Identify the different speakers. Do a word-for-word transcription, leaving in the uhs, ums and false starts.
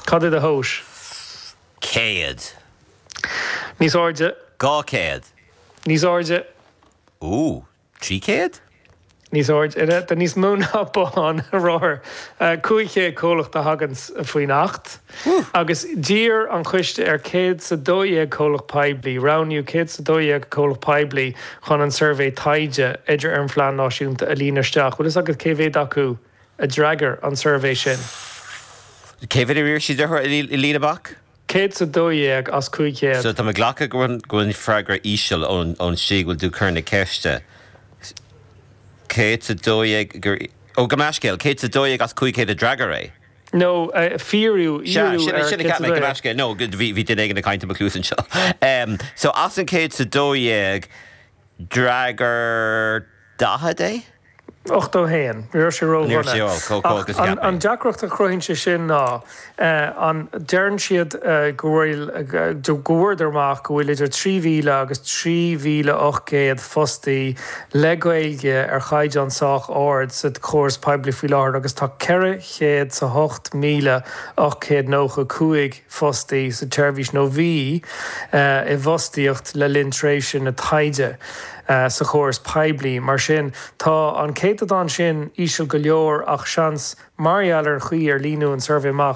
Speaker 1: Cad é do thomhas?
Speaker 2: Céad.
Speaker 1: Níos airde.
Speaker 2: Dhá chéad.
Speaker 1: Níos airde.
Speaker 2: Ú, trí chéad?
Speaker 1: Níos airde tá níos mó ná bothán rothar cúig chéad comhlacht a thagann faoin Acht. Agus d'iarr an coiste ar céad is a dó dhéag comhlacht poiblí, roghnaíodh céad is a dó dhéag comhlacht poiblí chun an suirbhé taighde idir ar an phlean náisiúnta a líonadh isteach. Bhfuil fhios agat cé mhéad acu a d'fhreagair an suirbhé sin?
Speaker 2: Cé mhéad a d'iarr siad orthu a líonadh amach?
Speaker 1: Céad is a dó dhéag as cúig chéad.
Speaker 2: So tá mé ag glacadh go bhfuil an freagra íseal ón ón slí go bhfuil tú ag cur na ceiste. Céad is a dó dhéag gur ó gabh mo leithscéal, céad is a dó dhéag as cúig chéad a d'fhreagair é.
Speaker 1: No, fíorú,
Speaker 2: Sea, sin sin a cheap mé, gabh mo leithscéal, no, bhí bhí duine éigin ag caint i mo chluas anseo. So as an céad is a dó dhéag, d'fhreagair daichead é?
Speaker 1: ochtó a haon. Ní raibh sé
Speaker 2: Ní raibh
Speaker 1: ródhona.
Speaker 2: sé ó, chomh chomh
Speaker 1: Ach
Speaker 2: agus a cheap
Speaker 1: an
Speaker 2: mé.
Speaker 1: deacracht a chruthaíonn sé sin ná an deireann siad go bhfuil go bhfuaireadar amach go bhfuil idir trí mhíle agus trí mhíle ocht gcéad fostaí le Gaeilge ar chaighdeán sách ard sa chóras poiblí faoi láthair agus tá ceithre chéad is a hocht míle ocht gcéad nócha cúig fostaí sa tseirbhís nó bhí i bhfostaíocht le linn tréimhse na taighde. sa chóras poiblí. Mar sin, tá an céatadán sin íseal go leor ach seans mar gheall ar an chaoi ar líonadh an suirbhé amach,